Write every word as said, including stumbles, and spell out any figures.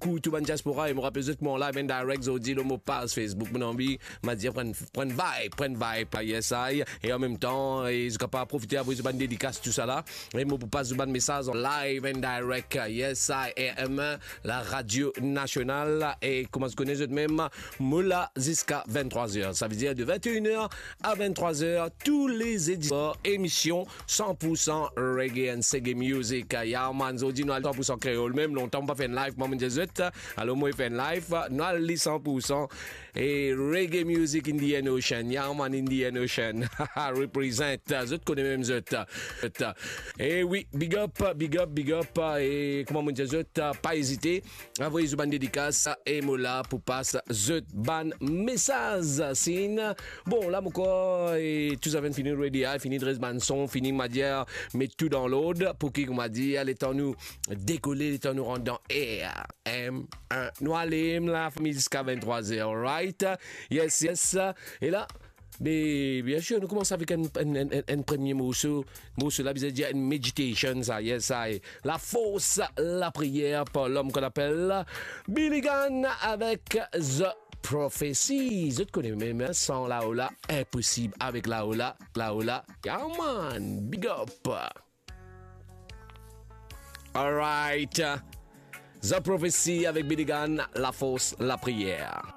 Pou tou bann diaspora, e mo rapel zot, mo an live and direct zordi lor mo paz Facebook. Mo anvi, mo dir, pran, pran vibe, pran vibe, yes I. E an mem tan, e zot kapav profite avoy zot bann dedikas, tousala. E mo pou pas zot bann mesaz an live and direct, yes I am, la radio nasional. E kouma zot kone zot mem, mo la ziska vinn-trwa zer. Sa ve dir de vinn-e-enn er a vinn-trwa zer, tou le zedi swar, emision san pour san reggae and seggae music. Ya man, zordi nou al san pour san kreol. Mem lontan mo pa fer enn live, kouma mo dir zot. Alor mo fer enn live, nou al li san pour san. E reggae music in the Indian Ocean. Ya man, Indian Ocean. Represent. Zot kone mem zot. Zot. E wi, big up, big up, big up. E kouma mo dir zot, pa ezite. Avoy zot bann dedikas e mo la pou pas zot bann mesaz. Sin. Bon, la mo krwar, e, tou sa finn fini ready, a, fini dres bann son, fini, mo dir, met tou dan lord, pou ki, kouma dir, letan nou dekole, letan nou rant dan er, em, en, nou ale, la fami, ziska vinn-trwa zer, alright? Yes, yes. E la, me, bien sir, nou koumans avek enn, enn, enn, enn, enn premie morso. Morso la bizin dir enn meditation, sa, yes I. La fors, lapriyer par lom ki apel Billy Gunn avek The Prophecy. Zot kone mem, en, san laola, inposib avek laola, laola. Ya man, big up. Alright. The Prophecy avek Billy Gunn, La Force, La Prière.